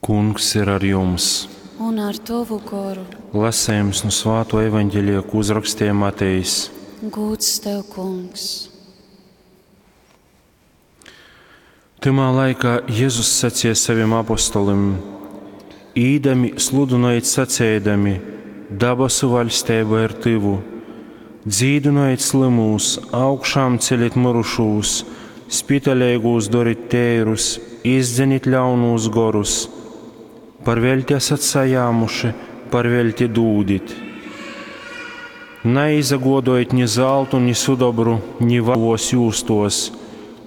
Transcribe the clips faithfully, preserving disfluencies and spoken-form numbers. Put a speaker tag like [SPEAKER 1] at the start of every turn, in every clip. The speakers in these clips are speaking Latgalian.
[SPEAKER 1] Kungs ir ar jums!
[SPEAKER 2] Un ar tovu goru.
[SPEAKER 1] Lasējums nu Svāto evaņģelija, ko uzrakstīja Matejs.
[SPEAKER 2] Gūds tev, Kungs!
[SPEAKER 1] Tymā laikā Jezus sacīja saviem apostolim: Īdami sludynojit saceidami, dabasu vaļsteiba ir tyvu. Dzīdynojit slymūs, augšām celit myrušūs, spitaleigūs dorit teirus, izdzenit ļaunūs gorus. Par veļti esat sajāmuši, par veļti dūdit. Naizagodojit ni zaltu, ni sudobru, ni vavos jūstos,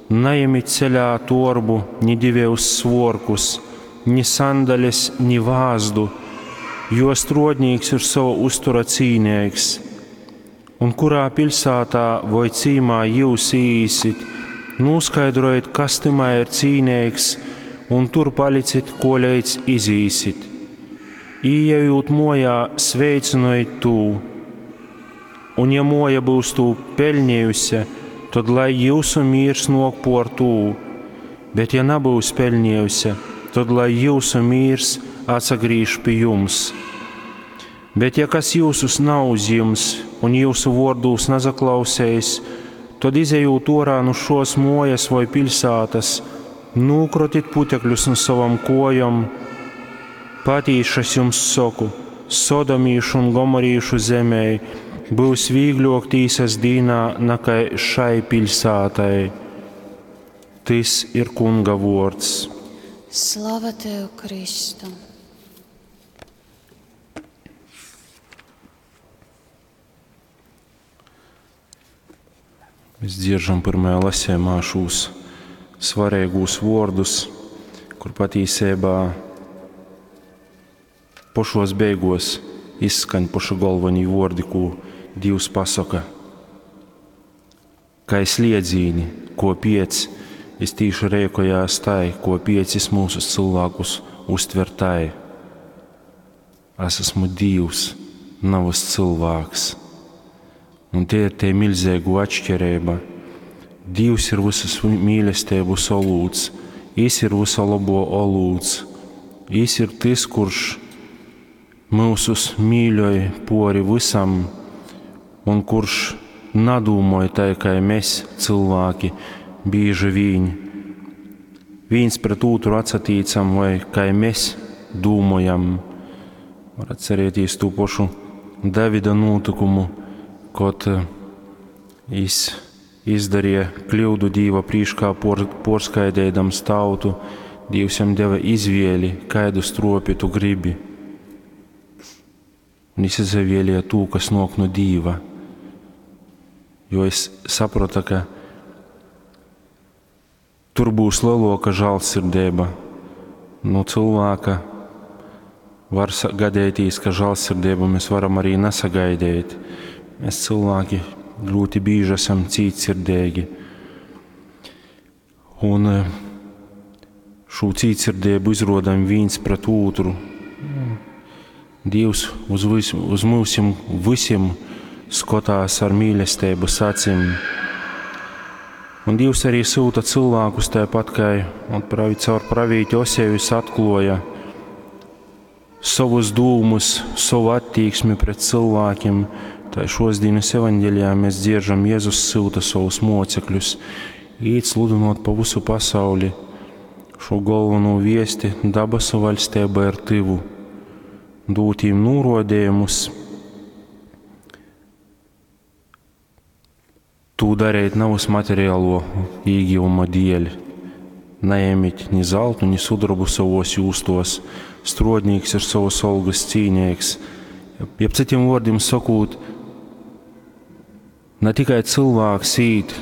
[SPEAKER 1] najemit ceļā torbu, ni divejus svuorkus, ni sandales, ni vāzdu, jo struodnīks ir sova uztura cīneigs. Un kurā piļsātā voi cīmā jūs īīsit, nūskaidrojit, kas tymā ir cīneigs, un tur palicit, koleidz izīsit. Īejūt muojā, sveicynojit tū. Un ja muoja būs tū peļņējuse, tad lai jūsu mīrs nok por tū, bet ja nebūs peļņējuse, tad lai jūsu mīrs atsagrīž pi jums. Bet ja kas jūsus nav uzjims un jūsu vōrdūs nasaklausējis, tad izejūt orā nu šos mojas voi piļsātas, nūkrotit putekļus nu savam kojom. Patīši es jums saku, Sodomīšu un Gomorīšu zemē būs vīgļok tīsas dīnā nakai šai piļsātai. Tys ir Kunga vōrds.
[SPEAKER 2] Slava tev, Kristu!
[SPEAKER 1] Mēs dzieržam pirmajā lasījumā šos svarīgos vārdus, kur patīsībā pošos beigos izskaņ poši galvenie vārdi, ko Dievs pasaka. Kā sliedzīni, ko piec, es tīši rēkojās tai, ko piecis mūsu cilvēkus uztver tai. Es esmu Dievs, navas cilvēks. Un te ir tie milzīgo atšķirība. Dievs ir visas mīlestības olūts, Jis ir visa labo olūts, Jis ir tas, kurš mūsus mīļoj pori visam un kurš nadūmoj tai, kā mēs cilvēki bieži vien viens pret otru atsatīcam vai kā mēs dūmojam. Var atcerēties to pašu Davida notikumu, kad jis izdarīja kļūdu Dīva prīškā por, porskaidēdams tautu, Dievs jam deva izvēli, kādu stropi tu gribi. Un jis izavēlēja tū, kas nok no Dīva. Jo es sapratu, ka tur būs lielāka žēlsirdība. No cilvēka var gadēties, ka žēlsirdību mēs varam arī nesagaidīt. Mēs cilvēki ļoti bieži esam cītsirdīgi. Un šo cītsirdību izrodam viens pret otru. Dievs uz, vis, uz mūsim visiem skatās ar mīlestības acīm. Un Dievs arī sūta cilvēkus tāpat, kā un pravi, caur pravīti Osejus atkloja savus dūmus, savu attieksmi pret cilvēkiem. Tā šos dienas evaņģelijā mēs dzieržam, Jēzus sūta savus mocekļus, īt sludinot pa visu pasauli šo galveno viesti dabasu vaļstība ir tyvu, dūt viņiem norodījumus, tū darīt navas materiālo īgivuma dēļ. Neņemiet ni zeltu, ni sudrabu savos jūstos, strodnīks ir savas algas cīnīgs. Jeb citiem vārdiem sakot, ne tikai cilvēks īt,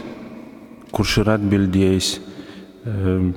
[SPEAKER 1] kurš ir atbildējis um,